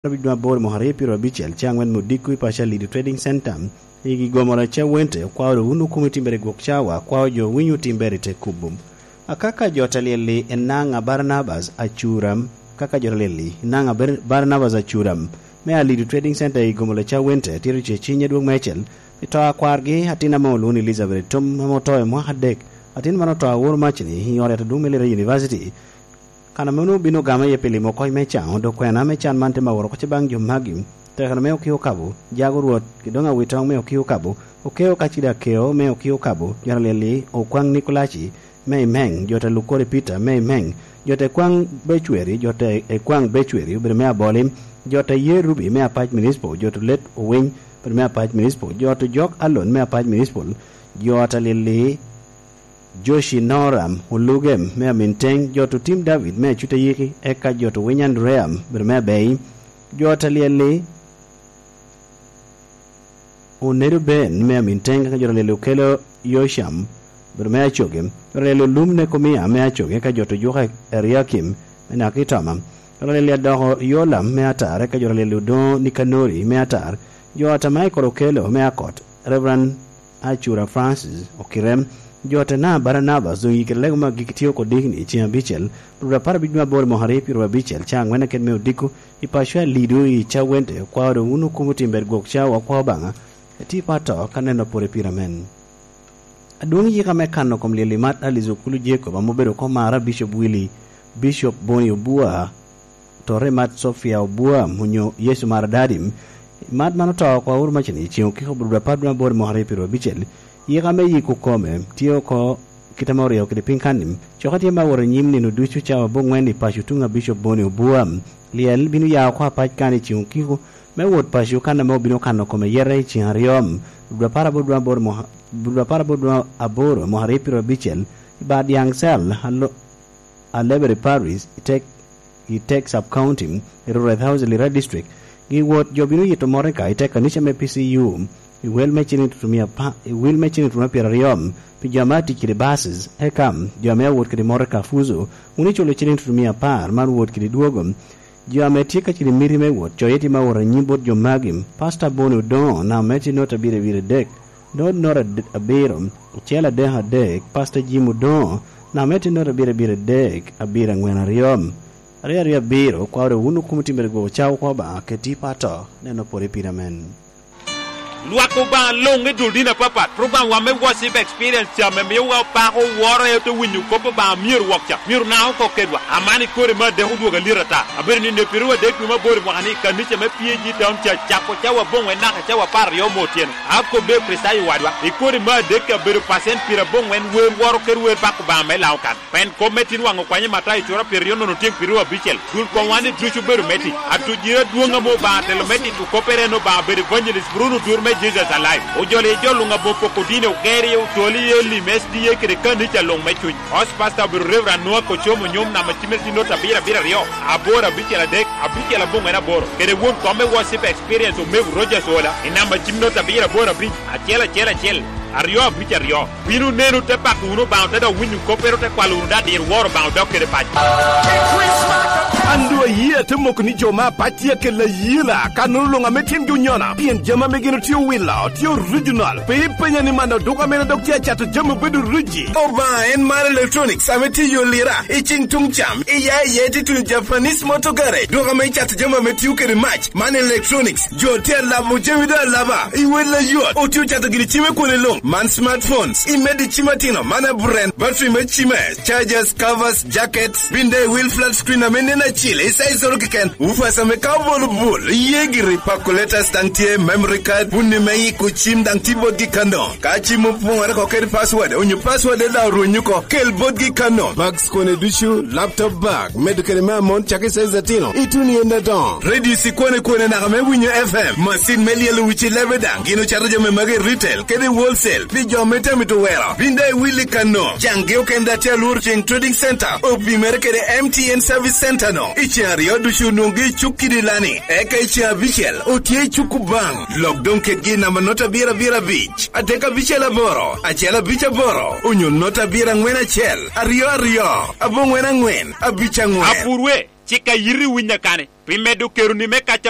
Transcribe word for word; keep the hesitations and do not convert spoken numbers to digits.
Abic nwa aboro mwaka aryo pyeraryo abicel, ca angwen me odiko i paco Alido Trading Center, i gomoro Cawente, okwao dok wun okomo i timbere i gwok cawa, okwao jo winyo timbere i te kubo. Akaka jo ta lyel-li, Enanga Barnabas Acuram, kaka jo ta lyel-li, Enanga Bar-, Barnabas Acuram, me Alido Trading Center i gomoro Cawente, tito ce ciny adwog mecel, pi to a kwargi, atin ame olwoŋo ni Elizabeth Etum, ame oto i mwaka adek. Atin man oto aworo macni i ot yat adwoŋ me Lira University. Kan ame onwoŋo obino ogamo iye pi limo kony me caŋo, dok kwena me can man te maworo oko ce baŋ jo magi. Tekano me Okio Kabo, Jago Rwot, Kidoŋ Awitoŋ me Okio Kabo, Okeo Kacida Keo me Okio Kabo, jo ta lyel-li, Okwaŋ Nikolaci me Imeng, jo ta Lukori Peter me Imeng, jo ta Ekwaŋ Becweri, jo ta Ekwaŋ Becweri obedo me Aboli, jo ta Ye Rubi me Apac Municipal, jo ta Let Owiny obedo me Apac Municipal, jo ta Jok Alon me Apac Municipal, jo ta lyel-li, Joshi Noram Olugem me Aminteng, jo ta Tim David me Acutayiki, eka jo ta Winy Andrea obedo me Abei, jo ta lyel-li, Onedo Ben me Aminteng, eka jo ta lyel-li, Okelo Yosham obedo me Acoge, jo ta lyel-li, Olum Nekomia me Acoge, eka jo ta Juka Eriakim me Nakitoma, jo ta lyel-li, Adoko Yolam me Atar, eka jo ta lyel-li, Odoŋo Nikanori me Atar, jo ta Michael Okelo me Akot, Reverend Acura Francis Okirem, jo ta Naa Barnabas, doŋ i kite lego me agikki tye oko dikni i ceŋ abicel, rwot apar abic me aboro mwaka aryo pyeraryo abicel, ca angwen aket me odiko, i paco Alido i Cawente, okwao dok wun okomo timbere gwok cawa, okwao Obaŋa, eti pa to, ka neno pwod i pira men. Adwoŋ yika me kano kom lyel i mat Alice Okulu Jacob, ame obedo kom mara Bishop Willy, Bishop Boni Obua, Torre Mat Sofia Obuam onyo Yecu Mara Dadim. Mat man oto oko aworo macni i ceŋ okiko, Obrubra apar dwe aboro mwaka aryo pyeraryo abicel. Yika me yiko kome tye oko kite ame oryo kede piny kan-ni. Cokke tye me awot anyim nino ducu cawa abongwen i paco tuŋ a Bishop Boni Obuam. Lyel bino ya oko apac kan i ceŋ okiko me wot paco kan ame obino kano kome yete i ceŋ aryo. Obrubra apar aboro dwe aboro mwaka, Obrubra apar aboro dwe aboro mwaka aryo pyeraryo abicel, i bar Dyaŋ Cell, alo-, Alebere Parish, i Tek, i Tek Sub-County, i Rureth House, i Lira District. Gi wot jo bino yito motoka i Tek kanica me P C U, i wel me ciliŋ tutu mia apa-, i wil me ciliŋ tutu me pyeraryo, pi jo ame atic kede buses, eka jo ame awot kede motoka Fuso, wun iculo ciliŋ tutu mia apar, man wot kede dwogo. Jo ame tye ka cito i miti me wot, coye tye me wot anyim bot jo magi, Pastor Boni Odoŋo, namba me tye nota abiro abiro adek, nota nota ad-, abiro, acel adek adek, Pastor Jim Odoŋo, namba me tye nota abiro abiro adek, abiro angwen aryo, aryo aryo abiro, kwaro wun okum otimere gwoko cawa oko Obaŋa, keti pa to, neno pwod i pira men. Lwak Obaŋa luŋ i dul dini apapat. Program wa me Worship Experience ca ame miyowa opako woro, ento winyo kop Obaŋa myero wok ca. Myero naŋ oko kedwa. Aman i kore me adek odwogo alit ata. Abedo ni nepere wadek dwe me aboro i mwaka ni i kanica me P A G Town ca cako cawa aboŋwen naka cawa apar aryo me otyeno. Akobbe Kricitayo wadwa, i kore me adek abedo pacent pyerabongwen wer woro kede wer bako Obaŋa me Laokan. Pien kop me tin waŋ okwanyo Matayo cura pyeraryo nono tyeng pyeraryo abicel, dul kom wan ni ducu obedo me tic. Atujire adwoŋ ame Obaŋa telo me tito koppere en Obaŋa bedo Evangelist Bruno Odur me Jesus Alive. Ojolo i jo luŋ aboŋo poko dini, ogero iye otol i elim S D A kede kanica luŋ me cuny. Host Pastor obedo Reverend Noah Kocomo Nyom, namba cimme tye nota abiro abiro aryo, aboro abicel adek, abicel aboŋwen aboro. Kede won kom me Worship Experience Omego Rogers Ola, i namba cim nota abiro aboro abic, acel acel acel, aryo abic aryo. Bino nenu te pako wunu Obaŋa, te dok winyo koppere, te kwalo wunu daŋ dir woro Obaŋa odok kede paco. An doŋ ayie ate moko ni jo me apac tye akella ayela, ka nono luŋ ame tyengi onyona, pien jami ame gin otye owilo tye original. Pe ipenya ni man oduka mene dok tye acato jami obedo riji. Obaŋa en mar electronics ame tye i yo Lira, i ceng tuŋ cam, i ya i ya itye tuno Japanese Motor Garage, duka ame icato jami ame tio kede mac, man electronics. Jo tye alabo jami doŋ alaba i wel ayot. Otye ocato gini cime kwone luŋ, man smartphones, imedo i cim atino, man a brand, battery me cime, chargers, covers, jackets, binde i wil flat screen ame nen acil, i size oro keken, woofers ame ka obolo bul, iye giri, calculators daŋ tye, memory card, puni me yiko cim daŋ tye botgi kano. Ka cim opoŋore oko kede password, onyo password daŋ orwenyo oko, kel botgi kano. Bags kone ducu, laptop bag, medo kede me amon cakki size atino, ituno i ende adoŋo. Radio ikwane kwane naka me winyo F M, macin me lyelo wici lebe daŋ, gin ocato jami magi i retail kede i wholesale, pi jo me tamito wero. Bin daŋ iwilli kano, caŋgi okene daŋ tye alworo ceŋ Trading Center, opimere kede M T N Service Center no. I ceŋ aryo ducu onwoŋgi i cuk kidi lani, eka i ceŋ abicel otye i cuk Obaŋa. Lok doŋ kedgi i namba nota abiro abiro abic, adek abicel aboro, acel abic aboro, onyo nota abiro angwen acel, aryo aryo, abongwen angwen, abic angwen. Apurwe, cik a yiti winya kane, pi medo keroni me kac